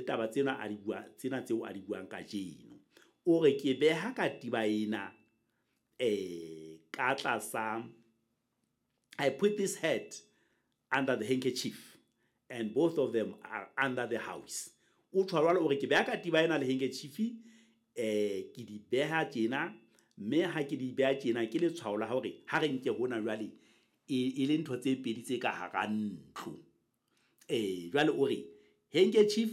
taba tsena a di bua, tsena tseo a di buang kajeno. O re ke beha katiba ena ka tlasa, I put this hat under the handkerchief and both of them are under the house. O tjho jwalo, o re ke beha katiba ena le handkerchief, ke di beha tjena, mme ha ke di beha tjena ke letshwao la hore ha re nke hona jwale e le ntho tse pedi tse ka hara ntlo. Jwale o re handkerchief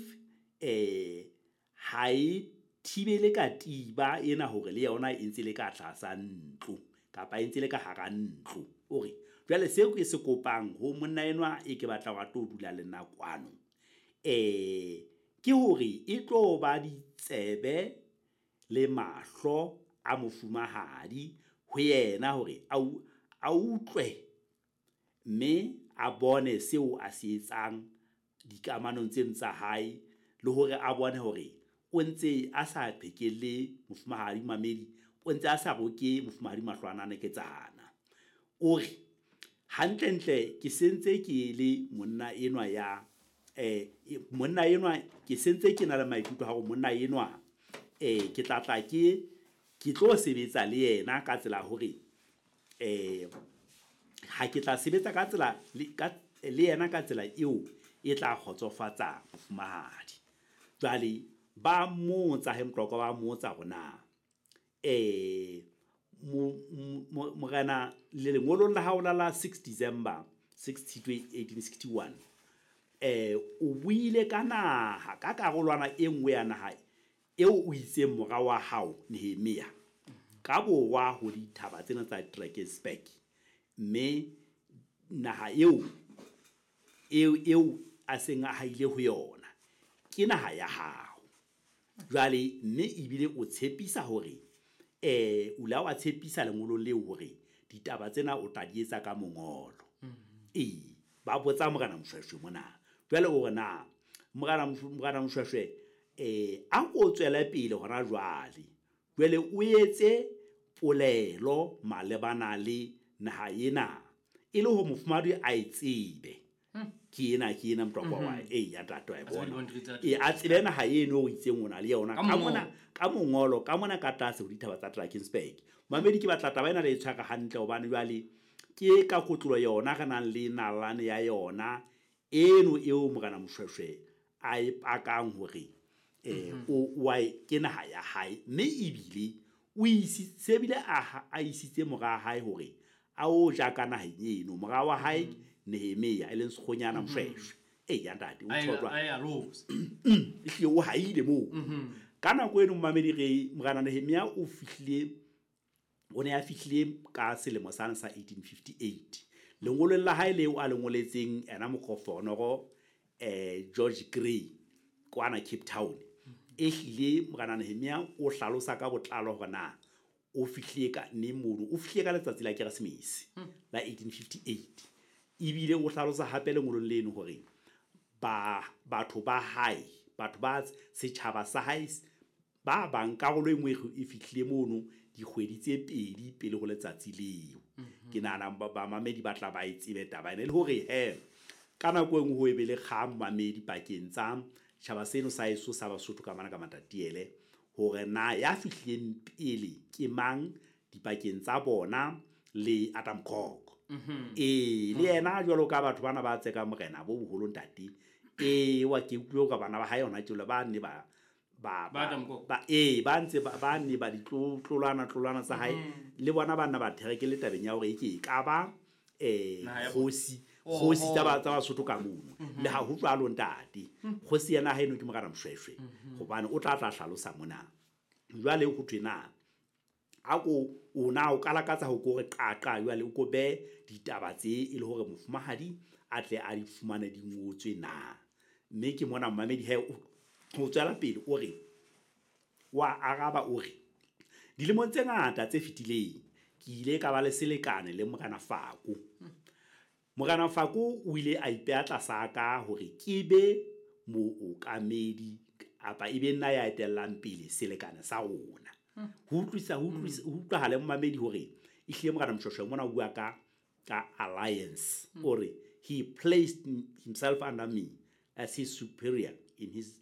ha e thibele katiba ena hore le yona e ntse le ka tlasa ntlo kapa e ntse le ka hara ntlo. O re jwale seo ke se kopang ho monna enwa e ke batla wa tlo dula le nna kwano, ke hore e tlo ba ditsebe le mahlo a mofumahadi ho yena hore a utlwe mme a bone seo a se etsang dikamanong tseno tsa hae, le hore a bone hore o ntse a sa qhekelle mofumahadi mamedi, o ntse a sa roke mofumahadi mahlwana neketsana. O re hantlentle ke sentse ke le monna enwa ya monna enwa, ke sentse ke na le maikutlo a hore monna enwa ke tla tla ke tlo sebetsa le yena ka tsela hore ha ke tla sebetsa ka tsela le yena ka tsela eo e tla kgotsofatsa mofumahadi. Jwale ba mmotsa he Motlokwa, ba mmotsa hore na morena le lengolong la hao la 6 December 6 Tshitwe 1861, o buile ka naha, ka karolwana e nngwe ya naha eo o itseng mora wa hao Nehemia ka borwa ho dithaba tsena tsa Drakensberg, mme naha eo eo a seng a haile ho yona ke naha ya hao. Jwale mme ebile o tshepisa hore o la wa tshepisa lengolong leo hore ditaba tsena o tla di etsa ka mongolo. Ba botsa morena Moshoeshoe mona. Jwale o re na morena Moshoeshoe a ko tswele pele hona jwale, jwale o etse polelo malebana le naha ena e le hore mofumahadi a e tsebe. Ke ena Motlokwa wa ya ntate wa e bona. A tsebe naha eno o itseng o na le yona ka mona, ka mongolo, ka mona ka tlase ho dithaba tsa Drakensberg. Mamedi, ke batla taba ena le e tshware hantle hobane jwale ke ka kotlolo yona re nang le nalane ya yona eno eo morena Moshoeshoe a e pakang hore o ke naha ya hae, mme ebile o isitse bile a isitse mora hae hore a o ja ka naheng eno, mora wa hae Nehemia e leng Sekgonyana Moshoeshoe. Ya ntate o tshotwa ehlile o haile moo. Ka nako eno mamedi re morena Nehemia o fihlile, o ne a fihlile ka selemo sane sa 1858. Lengolong la hae leo a le ngoletseng ena mokofonoro George Grey kwana Cape Town, ehlile morena Nehemia o hlalosa ka botlalo hore na o fihlile ka neng mono, o fihlile ka letsatsi la Keresemese la 1858. Ebile o hlalosa hape lengolong leno hore batho ba hae, batho ba setjhaba sa hae ba bang karolo e nngwe e fihlile mono dikgwedi tse pedi pele ho letsatsi leo. Ke nahana bamamedi ba tla ba e tsebe taba ena, e le hore he ka nako e nngwe ho be le kgang mamedi pakeng tsa tjhaba seno sa heso sa Basotho ka mana ka Matatiele, hore na ya fihlileng pele ke mang dipakeng tsa bona le Adam Kok. Le yena jwalo ka batho bana ba tsekang morena bo boholo ntate, wa ke utlwe hore bana ba hae hona tjena ba ne ba ba ntse ba ne ba ditlolwana tlolwana tsa hae, le bona ba nna ba thereke le tabeng ya hore e ke e ka ba kgosi tsa Basotho ka mono. Le ha ho jwalo ntate, kgosi ya naha eno ke morena Moshoeshoe, hobane o tla hlalosa mona. Jwale ho thwe na a ko o na o kalakatsa ho ko re qaqa jwale o ko be ditaba tse e le hore mofumahadi a tle a di fumane di ngotswe na. Mme ke mona mamedi he o tswela pele o re wa araba o re dilemong tse ngata tse fetileng ke ile ka ba le selekane le morena Fako. Morena Fako o ile a ipeha tlasa ka hore ke be mookamedi apa e be nna ya etellang pele selekane sa rona. Ho utlwisa ho utlwahala momamedi hore ehlile morena Moshoeshoe mona o bua ka alliance. O re he placed himself under me as his superior in this